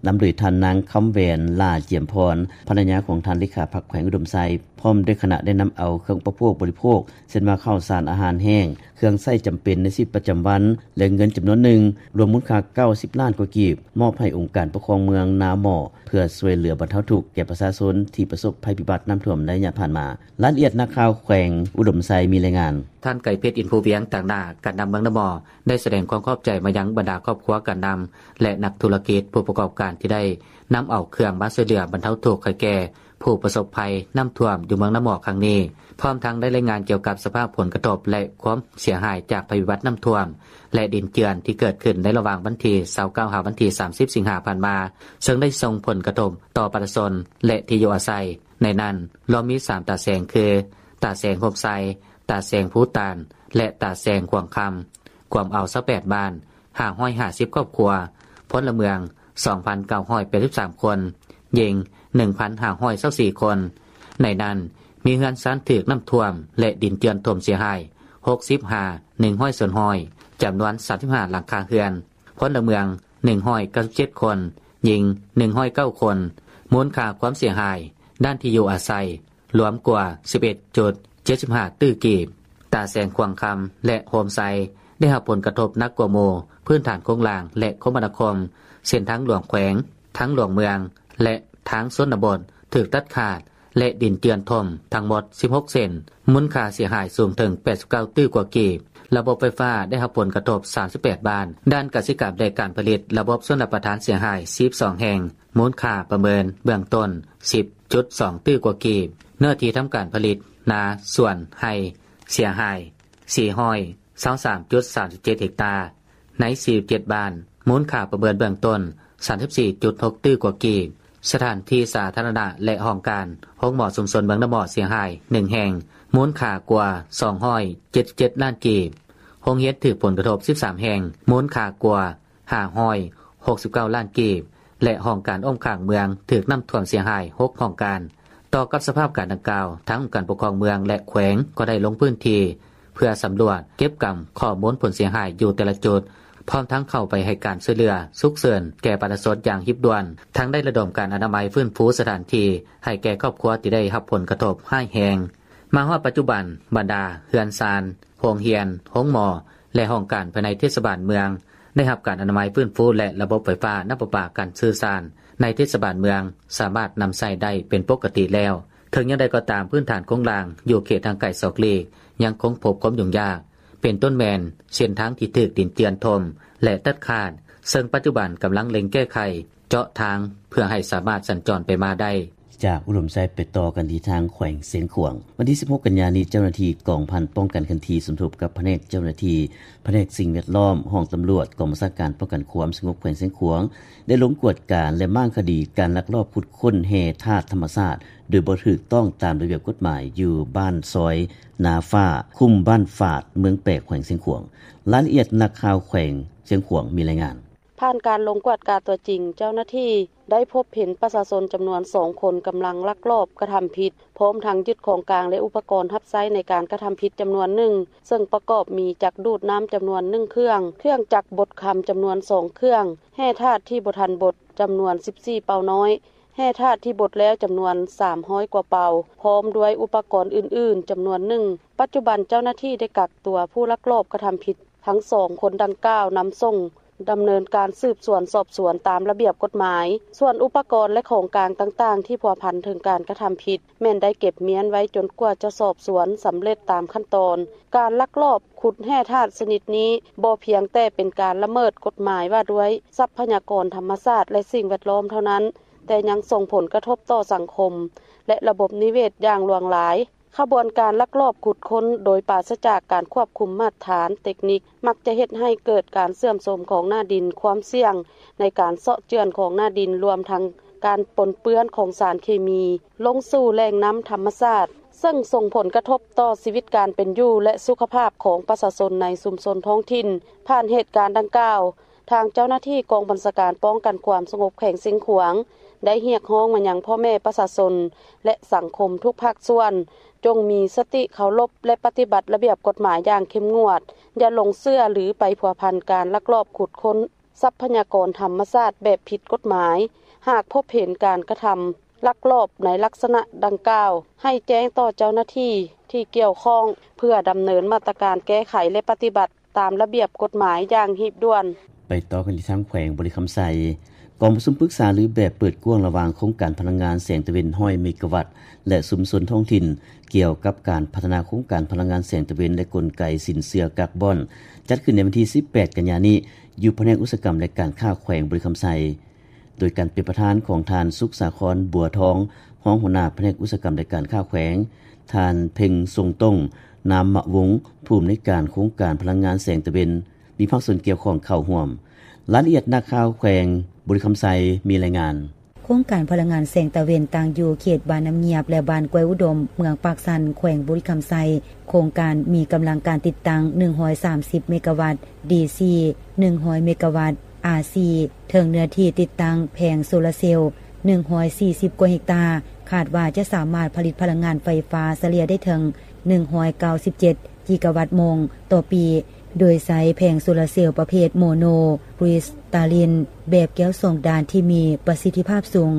ນຳໂດຍທ່ານນາງ ຄຳແຫວນ ຫຼ້າຈຽມພອນ ພັນລະຍາຂອງທ່ານເລຂາພັກແຂວງອຸດົມໄຊ ພ້ອມດ້ວຍຄະນະ ໄດ້ນຳເອົາເຄື່ອງອຸປະໂພກບໍລິໂພກ ເຊັ່ນວ່າ ເຂົ້າສານອາຫານແຫ້ງ, ເຄື່ອງໃຊ້ຈຳເປັນໃນຊີວິດປະຈຳວັນ ແລະ ເງິນຈຳນວນໜຶ່ງ ລວມມູນຄ່າເກົ້າສິບລ້ານກວ່າກີບ ມອບໃຫ້ອົງການປົກຄອງເມືອງນາໝໍ້ ເພື່ອຊ່ວຍເຫຼືອບັນເທົາທຸກແກ່ປະຊາຊົນທີ່ປະສົບໄພພິບັດນ້ຳຖ້ວມໃນໄລຍະຜ່ານມາ. ລາຍລະອຽດນັກຂ່າວແຂວງອຸດົມໄຊມີລາຍງານ. ທ່ານ ໄກເພັດ ອິນພູວຽງ ຕາງໜ້າການນຳເມືອງນາໝໍ້ ໄດ້ສະແດງຄວາມຂອບໃຈມາຍັງບັນດາຄອບຄົວການນຳ ແລະ ນັກທຸລະກິດ, ຜູ້ປະກອບການທີ່ໄດ້ນຳເອົາເຄື່ອງມາຊ່ວຍເຫຼືອບັນເທົາທຸກໃຫ້ແກ່ ຜູ້ປະສົບໄພນ້ຳຖ້ວມຢູ່ເມືອງນາໝໍ້ຄັ້ງນີ້, ພ້ອມທັງໄດ້ລາຍງານກ່ຽວກັບສະພາບຜົນກະທົບ ແລະ ຄວາມເສຍຫາຍຈາກໄພພິບັດນ້ຳຖ້ວມ ແລະ ດິນເຈື່ອນທີ່ເກີດຂຶ້ນໃນລະຫວ່າງວັນທີ ຊາວເກົ້າ ຫາວັນທີ ສາມສິບ ສິງຫາຜ່ານມາ, ເຊິ່ງໄດ້ສົ່ງຜົນກະທົບຕໍ່ປະຊາຊົນ ແລະ ທີ່ຢູ່ອາໄສ. ໃນນັ້ນລວມມີ ສາມ ຕາແສງ ຄື ຕາແສງໂຮມໄຊ, ຕາແສງພູຕານ ແລະ ຕາແສງຂວາງຄຳ, ກວມເອົາ ຊາວແປດ ບ້ານ, ຫ້າຮ້ອຍຫ້າສິບ ຄອບຄົວ, ພົນລະເມືອງ ສອງພັນເກົ້າຮ້ອຍແປດສິບສາມ ຄົນ, ຍິງ ໜຶ່ງພັນຫ້າຮ້ອຍຊາວສີ່ ຄົນ. ໃນນັ້ນມີເຮືອນຊານຖືກນ້ຳຖ້ວມ ແລະ ດິນເຈື່ອນຖົ່ມເສຍຫາຍ ຫົກສິບ ຫາ ໜຶ່ງຮ້ອຍ ສ່ວນຮ້ອຍ, ຈຳນວນ ສາມສິບຫ້າ ຫຼັງຄາເຮືອນ, ພົນລະເມືອງ ໜຶ່ງຮ້ອຍເກົ້າສິບເຈັດ ຄົນ, ຍິງ ໜຶ່ງຮ້ອຍເກົ້າ ຄົນ. ມູນຄ່າຄວາມເສຍຫາຍດ້ານທີ່ຢູ່ອາໄສ ລວມກວ່າ ສິບເອັດຈຸດເຈັດສິບຫ້າ ຕື້ກີບ. ຕາແສງຂວາງຄຳ ແລະ ໂຮມໄຊ ໄດ້ຮັບຜົນກະທົບໜັກກວ່າໝູ່, ພື້ນຖານໂຄງລ່າງ ແລະ ຄົມມະນາຄົມ, ເສັ້ນທາງຫຼວງແຂວງ, ທາງຫຼວງເມືອງ ແລະ ທາງຊົນນະບົດ ຖືກຕັດຂາດ ແລະ ດິນເຈື່ອນຖົ່ມທັງໝົດ ສິບຫົກ ເສັ້ນ, ມູນຄ່າເສຍຫາຍສູງເຖິງ ແປດສິບເກົ້າ ຕື້ກວ່າກີບ. ລະບົບໄຟຟ້າໄດ້ຮັບຜົນກະທົບ ສາມສິບແປດ ບ້ານ. ດ້ານກະສິກຳ ແລະ ການຜະລິດ ລະບົບຊົນລະປະທານເສຍຫາຍ ສິບສອງ ແຫ່ງ, ມູນຄ່າປະເມີນເບື້ອງຕົ້ນ ສິບຈຸດສອງ ຕື້ກວ່າກີບ. ເນື້ອທີ່ທຳການຜະລິດ, ນາ, ສວນ, ໄຮ່ ເສຍຫາຍ ສີ່ຮ້ອຍຊາວສາມຈຸດສາມສິບເຈັດ ເຮັກຕາ ໃນ ສີ່ສິບເຈັດ ບ້ານ, ມູນຄ່າປະເມີນເບື້ອງຕົ້ນ ສາມສິບສີ່ຈຸດຫົກ ຕື້ກວ່າກີບ. ສະຖານທີ່ສາທາລະນະ ແລະ ຫ້ອງການໂຮງໝໍຊຸມຊົນເມືອງນາໝໍ້ເສຍຫາຍ ໜຶ່ງ ແຫ່ງ, ມູນຄ່າກວ່າ ສອງຮ້ອຍເຈັດສິບເຈັດ ລ້ານກີບ. ໂຮງຮຽນຖືກຜົນກະທົບ ສິບສາມ ແຫ່ງ, ມູນຄ່າກວ່າ ຫ້າຮ້ອຍຫົກສິບເກົ້າ ລ້ານກີບ ແລະ ຫ້ອງການອ້ອມຂ້າງເມືອງຖືກນ້ຳຖ້ວມເສຍຫາຍ ຫົກ ຫ້ອງການ. ຕໍ່ກັບສະພາບການດັ່ງກ່າວ, ທາງອົງການປົກຄອງເມືອງ ແລະ ແຂວງກໍໄດ້ລົງພື້ນທີ່ ເພື່ອສຳຫຼວດເກັບກຳຂໍ້ມູນຜົນເສຍຫາຍຢູ່ແຕ່ລະຈຸດ, ພ້ອມທັງເຂົ້າໄປໃຫ້ການຊ່ວຍເຫຼືອສຸກເສີນແກ່ປະຊາຊົນຢ່າງຮີບດ່ວນ, ທັງໄດ້ລະດົມການອະນາໄມຟື້ນຟູສະຖານທີ່ໃຫ້ແກ່ຄອບຄົວທີ່ໄດ້ຮັບຜົນກະທົບຮ້າຍແຮງ. ມາຮອດປັດຈຸບັນ, ບັນດາເຮືອນຊານ, ໂຮງຮຽນ, ໂຮງໝໍ ແລະ ຫ້ອງການພາຍໃນເທດສະບານເມືອງ ໄດ້ຮັບການອະນາໄມຟື້ນຟູ ແລະ ລະບົບໄຟຟ້າ, ນ້ຳປະປາ, ການສື່ສານໃນເທດສະບານເມືອງສາມາດນຳໃຊ້ໄດ້ເປັນປົກກະຕິແລ້ວ. ເຖິງຢ່າງໃດກໍຕາມ, ພື້ນຖານໂຄງລ່າງຢູ່ເຂດຫ່າງໄກສອກຫຼີກຍັງຄົງພົບຄວາມຫຍຸ້ງຍາກ, ເປັນຕົ້ນແມ່ນເສັ້ນທາງທີ່ຖືກດິນເຈື່ອນຖົ່ມ ແລະ ຕັດຂາດ, ເຊິ່ງປັດຈຸບັນກຳລັງເລັ່ງແກ້ໄຂເຈາະທາງເພື່ອໃຫ້ສາມາດສັນຈອນໄປມາໄດ້. ຈາກອຸດົມໄຊໄປຕໍ່ກັນທີ່ທາງແຂວງຊຽງຂວາງ. ວັນທີ ສິບຫົກ ກັນຍານີ້, ເຈົ້າໜ້າທີ່ກອງພັນປ້ອງກັນເຄື່ອນທີ່ ສົມທົບກັບພະແນກເຈົ້າໜ້າທີ່ ພະແນກສິ່ງແວດລ້ອມ, ຫ້ອງຕຳຫຼວດ, ກອງບັນຊາການປ້ອງກັນຄວາມສະຫງົບແຂວງຊຽງຂວາງ ໄດ້ລົງກວດກາ ແລະ ມ້າງຄະດີການລັກລອບຂຸດຄົ້ນແຮ່ທາດທຳມະຊາດ ໂດຍບໍ່ຖືກຕ້ອງຕາມລະບຽບກົດໝາຍ ຢູ່ບ້ານຊອຍນາຟ້າ, ຄຸ້ມບ້ານຝາດ, ເມືອງແປກ, ແຂວງຊຽງຂວາງ. ລາຍລະອຽດ, ນັກຂ່າວແຂວງຊຽງຂວາງມີລາຍງານ. ຜ່ານການລົງກວດກາຕົວຈິງ, ເຈົ້າໜ້າທີ່ໄດ້ພົບເຫັນປະຊາຊົນຈຳນວນສອງຄົນກຳລັງລັກລອບກະທຳຜິດ, ພ້ອມທັງຍຶດຂອງກາງ ແລະ ອຸປະກອນຮັບໃຊ້ໃນການກະທຳຜິດຈຳນວນໜຶ່ງ, ເຊິ່ງປະກອບມີຈັກດູດນ້ຳຈຳນວນໜຶ່ງເຄື່ອງ, ເຄື່ອງຈັກບົດຄຳຈຳນວນສອງເຄື່ອງ, ແຮ່ທາດທີ່ບໍ່ທັນບົດຈຳນວນສິບສີ່ເປົານ້ອຍ, ແຮ່ທາດທີ່ບົດແລ້ວຈຳນວນສາມຮ້ອຍກວ່າເປົາ, ພ້ອມດ້ວຍອຸປະກອນອື່ນໆຈຳນວນໜຶ່ງ. ປັດຈຸບັນເຈົ້າໜ້າທີ່ໄດ້ກັກຕົວຜູ້ລັກລອບກະທຳຜິດທັງສອງຄົນດັ່ງກ່າວນຳສົ່ງ ດຳເນີນການສືບສວນສອບສວນຕາມລະບຽບກົດໝາຍ. ສ່ວນອຸປະກອນ ແລະ ຂອງກາງຕ່າງໆທີ່ພົວພັນເຖິງການກະທຳຜິດ ແມ່ນໄດ້ເກັບມ້ຽນໄວ້ຈົນກວ່າຈະສອບສວນສຳເລັດຕາມຂັ້ນຕອນ. ການລັກລອບຂຸດແຮ່ທາດຊະນິດນີ້ ບໍ່ພຽງແຕ່ເປັນການລະເມີດກົດໝາຍວ່າດ້ວຍຊັບພະຍາກອນທຳມະຊາດ ແລະ ສິ່ງແວດລ້ອມເທົ່ານັ້ນ, ແຕ່ຍັງສົ່ງຜົນກະທົບຕໍ່ສັງຄົມ ແລະ ລະບົບນິເວດຢ່າງຫຼວງຫຼາຍ. ຂະບວນການລັກລອບຂຸດຄົ້ນໂດຍປາສະຈາກການຄວບຄຸມມາດຖານເຕັກນິກ ມັກຈະເຮັດໃຫ້ເກີດການເສື່ອມໂຊມຂອງໜ້າດິນ, ຄວາມສ່ຽງໃນການເຊາະເຈື່ອນຂອງໜ້າດິນ, ລວມທັງການປົນເປື້ອນຂອງສານເຄມີລົງສູ່ແຫຼ່ງນ້ຳທຳມະຊາດ, ເຊິ່ງສົ່ງຜົນກະທົບຕໍ່ຊີວິດການເປັນຢູ່ ແລະ ສຸຂະພາບຂອງປະຊາຊົນໃນຊຸມຊົນທ້ອງຖິ່ນ. ຜ່ານເຫດການດັ່ງກ່າວ, ທາງເຈົ້າໜ້າທີ່ກອງບັນຊາການປ້ອງກັນຄວາມສະຫງົບແຂວງຊຽງຂວາງ ໄດ້ຮຽກຮ້ອງມາຍັງພໍ່ແມ່ປະຊາຊົນ ແລະ ສັງຄົມທຸກພາກສ່ວນ ຈົ່ງມີສະຕິເຄົາລົບ ແລະ ປະຕິບັດລະບຽບກົດໝາຍຢ່າງເຂັ້ມງວດ, ຢ່າຫຼົງເຊື່ອ ຫຼື ໄປພົວພັນການລັກລອບຂຸດຄົ້ນຊັບພະຍາກອນທຳມະຊາດແບບຜິດກົດໝາຍ. ຫາກພົບເຫັນການກະທຳລັກລອບໃນລັກສະນະດັ່ງກ່າວ, ໃຫ້ແຈ້ງຕໍ່ເຈົ້າໜ້າທີ່ທີ່ກ່ຽວຂ້ອງ ເພື່ອດຳເນີນມາດຕະການແກ້ໄຂ ແລະ ປະຕິບັດ ຕາມລະບຽບກົດໝາຍຢ່າງຮີບດ່ວນ. ໄປຕໍ່ກັນທີ່ທາງແຂວງບໍລິຄຳໄຊ. ກອງປະຊຸມປຶກສາລືແບບເປີດກວ້າງລະຫວ່າງໂຄງການພະລັງງານແສງຕາເວັນ ຮ້ອຍ ເມກາວັດ ແລະ ຊຸມຊົນທ້ອງຖິ່ນ ກ່ຽວກັບການພັດທະນາໂຄງການພະລັງງານແສງຕາເວັນ ແລະ ກົນໄກສິນເຊື່ອກາບອນ ຈັດຂຶ້ນໃນວັນທີ ສິບແປດ ກັນຍານີ້ ຢູ່ພະແນກອຸດສາຫະກຳ ແລະ ການຄ້າແຂວງບໍລິຄຳໄຊ. ໂດຍການເປັນປະທານຂອງ ທ່ານ ສຸກສາຄອນ ບົວທອງ ຮອງຫົວໜ້າພະແນກອຸດສາຫະກຳ ແລະ ການຄ້າແຂວງ, ທ່ານ ເພັງຊົງຕົງ ນາມມະວົງ ຜູ້ອຳນວຍການໂຄງການພະລັງງານແສງຕາເວັນ ມີພາກສ່ວນກ່ຽວຂ້ອງເຂົ້າຮ່ວມ. ລາຍລະອຽດ ນັກຂ່າວແຂວງບໍລິຄຳໄຊມີລາຍງານ. ໂຄງການພະລັງງານແສງຕາເວັນ ຕັ້ງຢູ່ເຂດບ້ານນ້ຳງຽບ ແລະ ບ້ານກ້ວຍອຸດົມ ເມືອງປາກຊັນ ແຂວງບໍລິຄຳໄຊ. ໂຄງການມີກຳລັງການຕິດຕັ້ງ ໜຶ່ງຮ້ອຍສາມສິບເມກາວັດ ດີຊີ ໜຶ່ງຮ້ອຍເມກາວັດ ອາຊີ ເຖິງເນື້ອທີ່ຕິດຕັ້ງແຜງໂຊລາເຊວ ໜຶ່ງຮ້ອຍສີ່ສິບກວ່າເຮັກຕາ, ຄາດວ່າຈະສາມາດຜະລິດພະລັງງານໄຟຟ້າສະເລ່ຍໄດ້ເຖິງ ໜຶ່ງຮ້ອຍເກົ້າສິບເຈັດ ກິກາວັດໂມງຕໍ່ປີ, ໂດຍໃຊ້ແຜງໂຊລາເຊວປະເພດໂມໂນຄຣິສຕາລິນ ແບບແກ້ວສອງດ້ານທີ່ມີປະສິດທິພາບສູງ,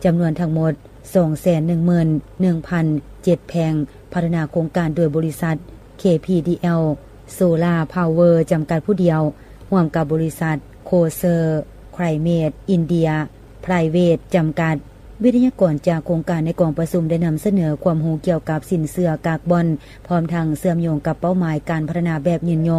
ຈຳນວນທັງໝົດ ສອງແສນໜຶ່ງໝື່ນໜຶ່ງພັນເຈັດແຜງ, ພັດທະນາໂຄງການໂດຍບໍລິສັດ ເຄ ພີ ດີ ແອລ ໂຊລາ ພາວເວີ ຈຳກັດຜູ້ດຽວ, ຮ່ວມກັບບໍລິສັດ ໂຄເຊີ ໄຄລເມດ ອິນເດຍ ໄພຣເວດ ຈຳກັດ. ວິທະຍາກອນຈາກໂຄງການໃນກອງປະຊຸມໄດ້ນຳສະເໜີຄວາມຮູ້ກ່ຽວກັບສິນເຊື່ອກາກບອນ, ພ້ອມທັງເຊື່ອມໂຍງກັບເປົ້າໝາຍການພັດທະນາແບບຍືນຍົງ